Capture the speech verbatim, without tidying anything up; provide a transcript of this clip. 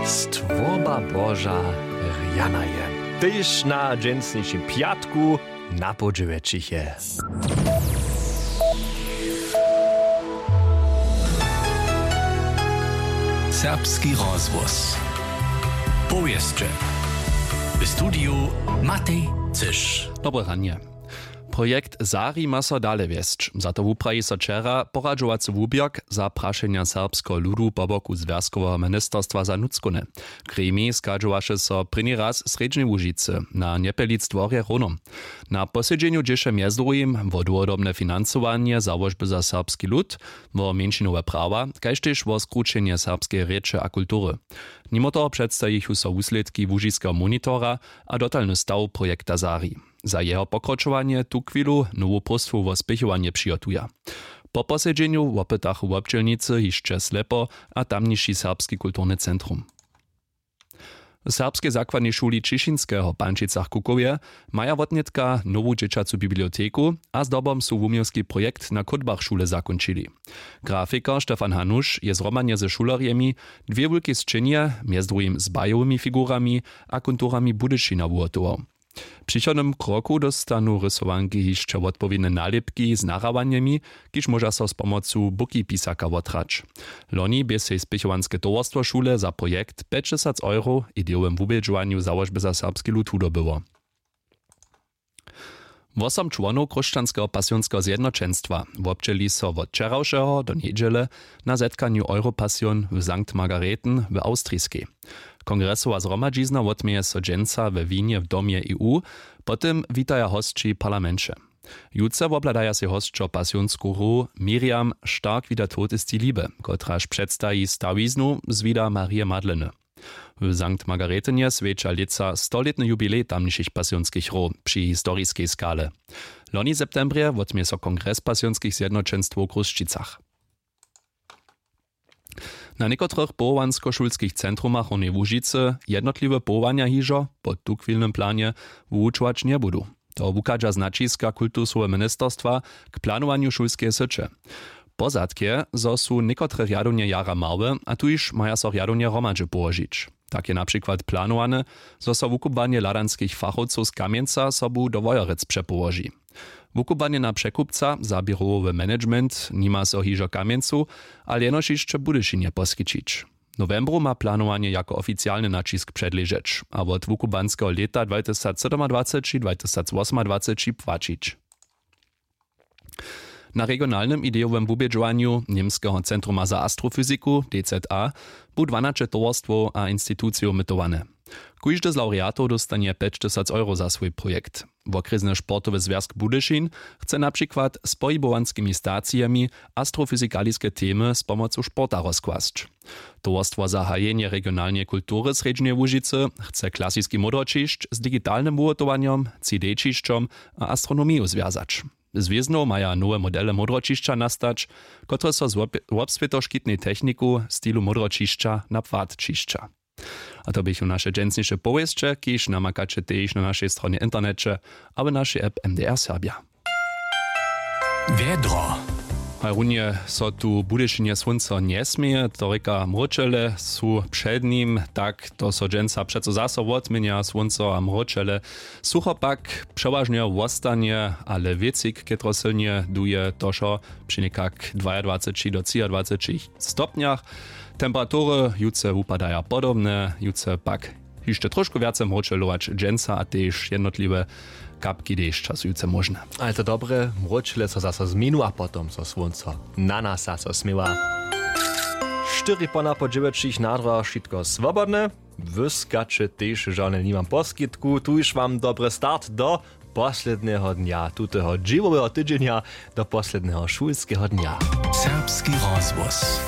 Stwórba Boža rjana je tež na dźensnišim pjatku na połdźe wjetšiche. Serbski rozhłos. Powěsće. W studiju Matej Cyš. Dobre ranje. Projekt Zari ma so dale wjesć. Za to wupraji so wčera poradźowacy wuběrk za prašenja serbskeho ludu po boku zwjazkoweho ministerstwa za nutřkowne. Gremij schadźowaše so prěni raz w Srjedźnej Łužicy na Njepjelic dworje Hrónom. Na posedźenju dźěše mjez druhim wo dołhodobne financowanje załožby za serbski lud, wo mjeńšinowe prawa, kaž tež wo skrućenje serbskeje rěče a kultury. Nimo toho předstajichu so wuslědki łužiskeho monitora a dotalny staw projekta Zari. Za jeho pokročowanje tuchwilu nowu próstwu wo spěchowanje přihotuja. Po posedźenju wopytachu wobdźělnicy hišće Slepo a tamniši serbski kulturny centrum. W serbskej zakładnej šuli Ćišinskeho w Pančicach-Kukowje maja wotnětka nowu dźěćacu biblioteku a zdobom su wuměłski projekt na chódbach šule zakónčili. Grafikar Stefan Hanuš je zhromadnje ze šulerjemi dwě wulke sćenje, mjez druhim z bajowymi figurami a konturami Budyšina wuhotował. W přichodnym kroku dóstanu rysowanki hišće wotpowědne nalěpki z nahrawanjemi, kiž móža so z pomocu bukipisaka wothrać. Loni bě sej spěchowanske towarstwo šule za projekt pjećtysac euro w idejowym wubědźowanju załožby za serbski lud wudobyło. Wosom čłonow Chróšćanskeho pasionskeho zjednoćenstwa wobdźěli so wot wčerawšeho do njedźele na zetkanju Europasion w Sankt Margareten w Awstriskej. Kongresowa zhromadźizna wotměje so dźensa we Wienje w domje E U, po tym witaja hosći w parlamenće. Jutře wobhladaja sej hosćo pasionsku hru Miriam Stark wider Tod ist die Liebe, kotraž předstaji stawiznu z wida Marije Madleny. W Sankt Margaretenje swjeća lětsa stolětny jubilej tamnišich pasionskich hrow při historiskej skale. Loni w septembrje wotměje so kongres pasionskich zjednoćenstwow w Chrósćicach. Na někotrych powołanskošulskich centrumach Hornjeje Łužicy jednotliwe powołanja hižo po tuchwilnym planje wuwučować njebudu. To wuchadźa z naćiska kultusoweho ministerstwa k planowanju šulskeje syće. Pozadk je, zo su někotre rjadownje jara małe a tuž maja so rjadownje hromadźe połožić. Tak je na přikład planowane, zo so wukubłanje hladanskich fachowcow z Kamjenca sobu do Wojerec přepołoži. Wukubłanje na překupca za běrowowy management nima so hižo w Kamjencu, ale jenož hišće w Budyšinje poskićić. W nowembru ma planowanje jako oficialny naćisk předležeć a wot wukubłanskeho lěta dwatysacsydomadwaceći dwatysacwosomadwaceći płaćić. Na regionalnym idejowym wubědźowanju Němskeho centruma za astrofyziku D Z A bu dwanaće towarstwow a institucijow mytowane. Kóždy z lawreatow dóstanje pjećtysac euro za swój projekt. Wokrjesny sportowy zwjazk Budyšin chce na přikład z pohibowanskimi stacijemi astrofyzikaliske temy z pomocu sporta rozkłasć. Towarstwo za hajenje regionalneje kultury Srjedźneje Łužicy chce klasiski módroćišć z digitalnym wuhotowanjom, C D-ćišćom a astronomiju zwjazać. Z wěznow maja nowe modele módroćišća nastać, kotrež so z wobswětoškitnej techniku w stilu módroćišća na płatćišća. A to běchu naše dźensniše powěsće, kiž namakaće tež na našej stronje w interneće abo našej app M D R Serbja. Wjedro. Haj runje so tu w Budyšinje słónco njesměje, to rěka mróčele su před nim, tak to so dźensa přeco zaso wotměnja słónco a mróčele. Sucho pak přewažnje wostanje, ale wěcik chětrosylnje duje, to wšo při někak dwajadwaceći do třiadwaceći stopnjach. Temperatury jutře wupadaja podobne, jutře pak hišće trošku wjace mróčelować dźensa a tež jednotliwe kapki dešća su jutře móžne. Ale to dobre, mróčele so zaso změnu a potom so słónco na nas zaso směwa. Štyri po napo dźewjećich na drogach wšitko swobodne. Wyskaće tež žane nimam poskitku, tuž wam dobry start do posledneho dnja tuteho dźěłoweho tydźenja, do posledneho šulskeho dnja. Serbski rozhłos.